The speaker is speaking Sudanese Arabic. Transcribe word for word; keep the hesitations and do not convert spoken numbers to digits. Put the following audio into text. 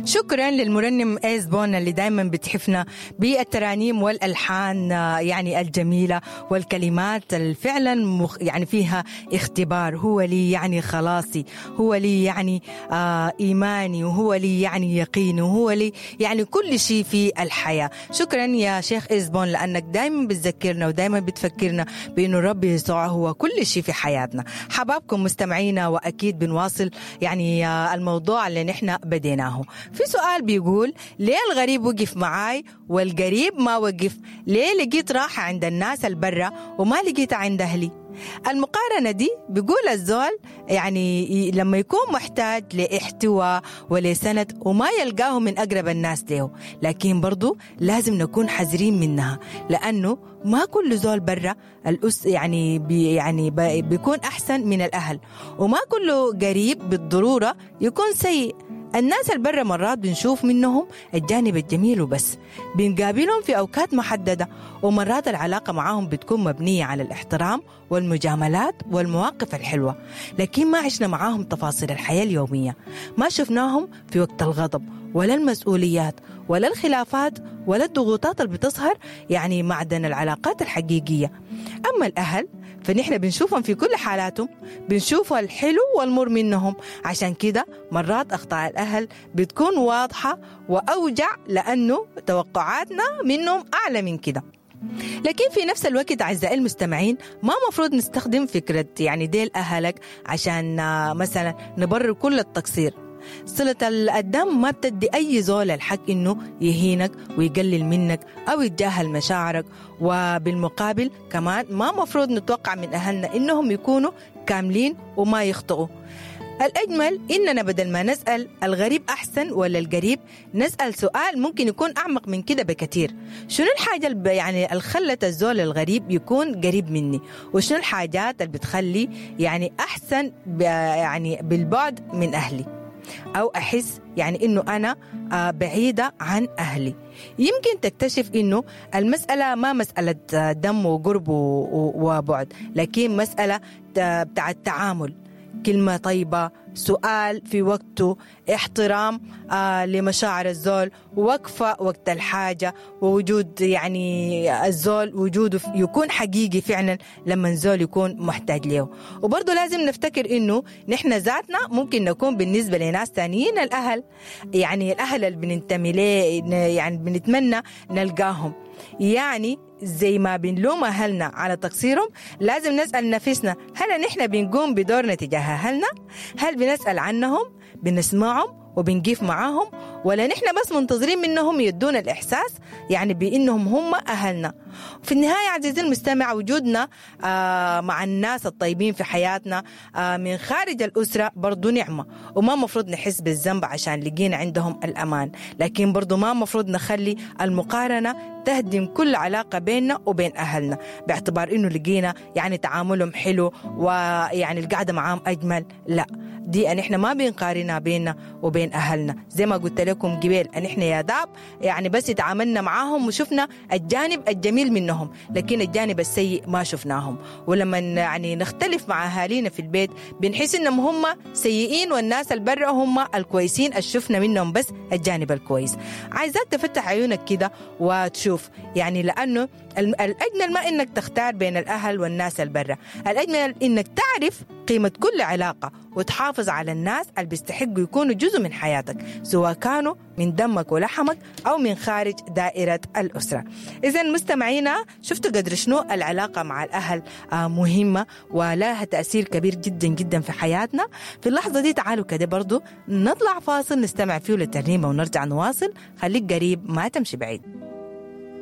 شكرا للمرنم ايزبون اللي دايما بتحفنا بالترانيم والالحان يعني الجميلة والكلمات اللي فعلا مخ يعني فيها اختبار. هو لي يعني خلاصي، هو لي يعني آه ايماني، وهو لي يعني يقيني، وهو لي يعني كل شيء في الحياة. شكرا يا شيخ ايزبون لانك دايما بتذكرنا ودايما بتفكرنا بانه الرب يسوع هو كل شيء في حياتنا. حبابكم مستمعينا، واكيد بنواصل يعني الموضوع اللي نحن بديناه. في سؤال بيقول ليه الغريب وقف معاي والقريب ما وقف؟ ليه لقيت راحة عند الناس البرة وما لقيتها عند أهلي؟ المقارنة دي بيقول الزول يعني لما يكون محتاج لاحتواء ولسند وما يلقاه من أقرب الناس له، لكن برضو لازم نكون حذرين منها، لأنه ما كل زول برا الأس يعني بي يعني بي بيكون أحسن من الأهل، وما كله قريب بالضرورة يكون سيء. الناس البرة مرات بنشوف منهم الجانب الجميل وبس، بنقابلهم في أوقات محددة، ومرات العلاقة معاهم بتكون مبنية على الاحترام والمجاملات والمواقف الحلوة، لكن ما عشنا معاهم تفاصيل الحياة اليومية، ما شفناهم في وقت الغضب ولا المسؤوليات ولا الخلافات ولا الضغوطات اللي بتظهر يعني معدن العلاقات الحقيقية. أما الأهل فنحن بنشوفهم في كل حالاتهم، بنشوف الحلو والمر منهم، عشان كده مرات أخطاء الأهل بتكون واضحة وأوجع لأنه توقعاتنا منهم أعلى من كده. لكن في نفس الوقت أعزائي المستمعين ما مفروض نستخدم فكرة يعني ديل أهلك عشان مثلا نبرر كل التقصير. صلة الدم ما بتدي أي زول الحق إنه يهينك ويقلل منك أو يتجاهل مشاعرك، وبالمقابل كمان ما مفروض نتوقع من أهلنا إنهم يكونوا كاملين وما يخطئوا. الأجمل إننا بدل ما نسأل الغريب أحسن ولا القريب، نسأل سؤال ممكن يكون أعمق من كده بكثير. شنو الحاجة اللي يعني الخلت الزول الغريب يكون قريب مني؟ وشنو الحاجات اللي بتخلي يعني أحسن يعني بالبعد من أهلي، أو أحس يعني إنه أنا بعيدة عن أهلي؟ يمكن تكتشف إنه المسألة ما مسألة دم وقرب وبعد، لكن مسألة بتاع التعامل، كلمة طيبة، سؤال في وقته، احترام آه لمشاعر الزول، وقفة وقت الحاجة، ووجود يعني الزول وجوده يكون حقيقي فعلا لما الزول يكون محتاج له. وبرضه لازم نفتكر إنه نحن ذاتنا ممكن نكون بالنسبة لناس تانيين الأهل، يعني الأهل اللي بننتمي ليه، يعني بنتمنى نلقاهم. يعني زي ما بنلوم أهلنا على تقصيرهم، لازم نسأل نفسنا هل نحن بنقوم بدورنا تجاه أهلنا؟ هل بنسأل عنهم؟ بنسمعهم وبنقيف معاهم؟ ولا نحن بس منتظرين منهم يدونا الإحساس يعني بأنهم هم أهلنا؟ في النهاية عزيزي المستمع، وجودنا آه مع الناس الطيبين في حياتنا آه من خارج الأسرة برضو نعمة، وما مفروض نحس بالذنب عشان لقينا عندهم الأمان، لكن برضو ما مفروض نخلي المقارنة تهدم كل علاقة بيننا وبين أهلنا، باعتبار إنه لقينا يعني تعاملهم حلو ويعني القعدة معاهم أجمل. لا، دي أن إحنا ما بنقارنها بيننا وبين أهلنا. زي ما قلت لكم قبل، أن إحنا يا داب يعني بس تعاملنا معاهم وشفنا الجانب الجميل منهم، لكن الجانب السيء ما شفناهم. ولما يعني نختلف مع أهالينا في البيت بنحس إنهم هم سيئين والناس البرة هم الكويسين، الشفنا منهم بس الجانب الكويس. عايزاك تفتح عيونك كده وتشوف، يعني لأنه الأجمل ما إنك تختار بين الأهل والناس البرة، الأجمل إنك تعرف قيمة كل علاقة وتحافظ على الناس اللي بيستحقوا يكونوا جزء من حياتك، سواء كانوا من دمك ولحمك أو من خارج دائرة الأسرة. إذن مستمعينا، شفتوا قدر شنو العلاقة مع الأهل مهمة ولها تأثير كبير جدا جدا في حياتنا. في اللحظة دي تعالوا كده برضو نطلع فاصل نستمع فيه للترنيمة ونرجع نواصل. خليك قريب، ما تمشي بعيد.